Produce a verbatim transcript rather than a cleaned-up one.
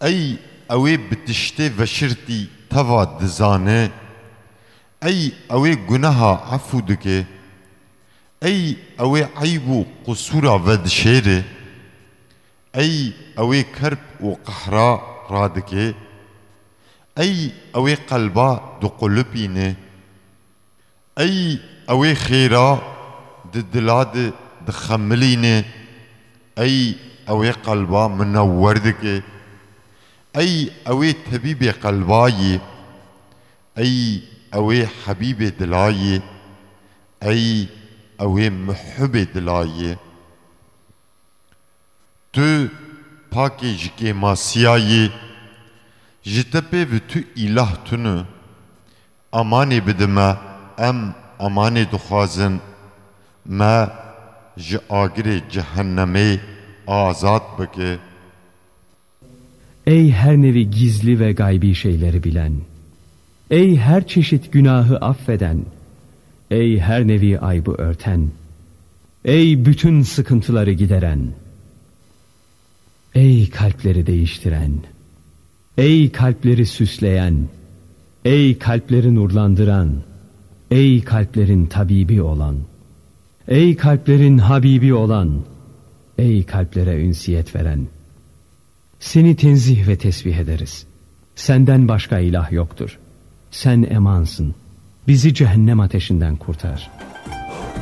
Ey ew ê bi tiştê veşirtî teva dizane, ey ew ê guneha efû dike, ey ew ê eyb û qisûra vedişêre, ey ew ê kerb û qehra radike, ey ew ê qelba diqulipîne. Ey ew ê xêra di dila de dixemilîne, ey ew ê qelba minewwer dike, ey ew ê tebîbê qelba yê, ey ew ê hebîbê dila yê, ey ew ê muhibê dila yê. Tu pakê ji kêmasiya yî, ji te pê bi tu îlah tune. Amanê bide me, em amanê dixwazin, me ji agirê cehennemê azad bike. Ey her nevi gizli ve gaybi şeyleri bilen, ey her çeşit günahı affeden, ey her nevi aybı örten, ey bütün sıkıntıları gideren, ey kalpleri değiştiren, ey kalpleri süsleyen, ey kalpleri nurlandıran, ey kalplerin tabibi olan, ey kalplerin habibi olan, ey kalplere ünsiyet veren. Seni tenzih ve tesbih ederiz. Senden başka ilah yoktur. Sen emansın. Bizi cehennem ateşinden kurtar.